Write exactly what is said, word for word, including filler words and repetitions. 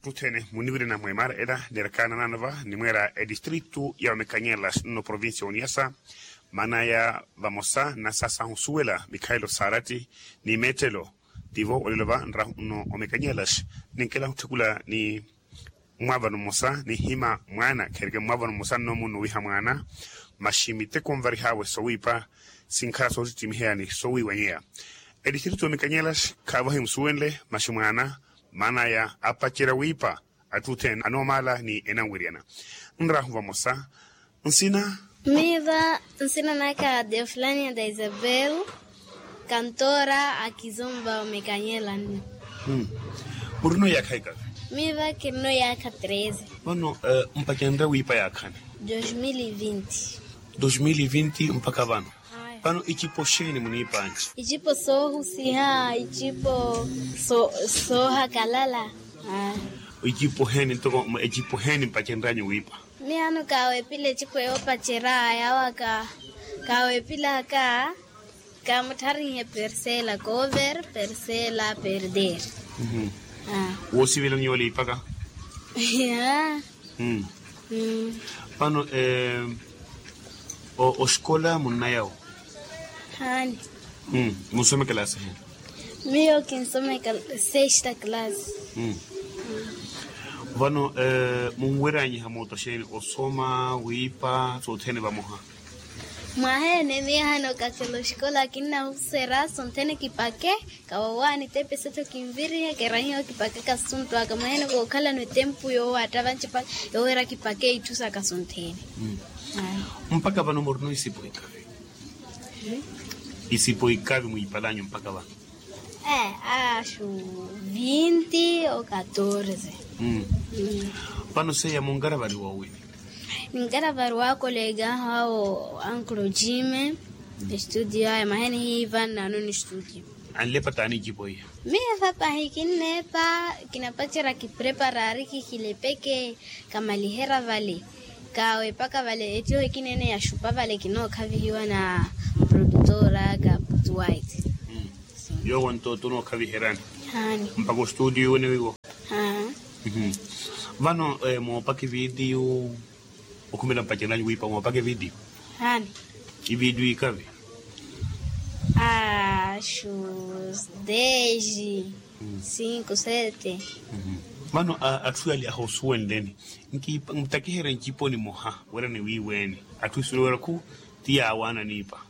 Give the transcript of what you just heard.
Attuthene muniwirina mweemara ela neerakaana naano va nimweera etistritu ya omekanyela nno provincia ya oniasa. Maana ya vamosa nnasasahu osuwela mikhaelo saaratti ni meettelo. Tivo olelo va nrahu nno omekanyela ninkela otthekula ni mwaavano mmosa nihima mwaana khereke mwaavano mmosa nno munno owiha mwaana. Maxi miteko nvarihaawe sowiipa sinkhala sootittimiheya ni sowiiwanyeya. Etistritu ya omekanyela khaavahi musuwenle maxi mwaana maana ya apacerya wiipa atthu othene anoomaala ni enanweryana. Nrahu vamosa nsina. Miiva nsina naka deofulania da isabel. Kantora akizomba omekanyela nno. Murino yaakha ikavi? Miiva kirino yaakha treze. Vano mpacenrya wiipa yaakhani? Dos mil e vinte. Dos mil e vinte mpakha vano? Vano icipo xeeni muniipanci? Icipo soohusiha icipo soohakalala. Icipo heeni ntoko ecipo heeni mpacenryanyu wiipa? Miyaano kaawepila ecipo yoopacerya yaawa kaawepilaka. Kaamuttharinhe persela koover persela perder. Woosivelani yoole ipaka? Vano oxikola munnayawo? Haani. Munsome kalasi heni? Miyo kinsome sexta kalasi. Vano munweryanyiha mooto xeeni osoma wiipa sothene vamoha? Mwaha ene miyo haana okakhela oxikola kinnahuserya sonthene kipake. Kawawaani tepe settho kinvirihe kerahiwa kipake kasuntu aka mwaha ene kookhalano etempu yoowatta vanci paka yoowira kipake itthu saka sonthene. Mpakha vano murino isipo ikavi? Isipo ikavi mwiipalanyu mpakha vano? Ee aashu vinti o katorze. Vano seiya munkaravariwa owiini? Ninkaravariwa akolega ahu awo ankulu jime. Estudio aya mwaha ene hiiva nnaano ni studio. Anlepa taani icipo iya? Miyo epapahi kinneepa. Kinapacerya kipreparari kihilepeke. Kamaliherya vale. Kaawepaka vale ettiho ekina ene yaxupa vale kinookhavihiwa na produtora ka putuwaiti. Yoowo nto tonookhaviheryani? Haani. Mpakha ostudio iwene wiwo? Vano moopaka evidiyu okhumela mpacelanyu wiipa moopaka evidiyu? Haani. Ividiyu ikavi? Aashu deji. Sinku sete. Vano atthu yale ahoosuwenleni ntakiherye ncipo nimoha wira niwiiweeni. Atthu isuwela wira khu ti yaawaana niipa.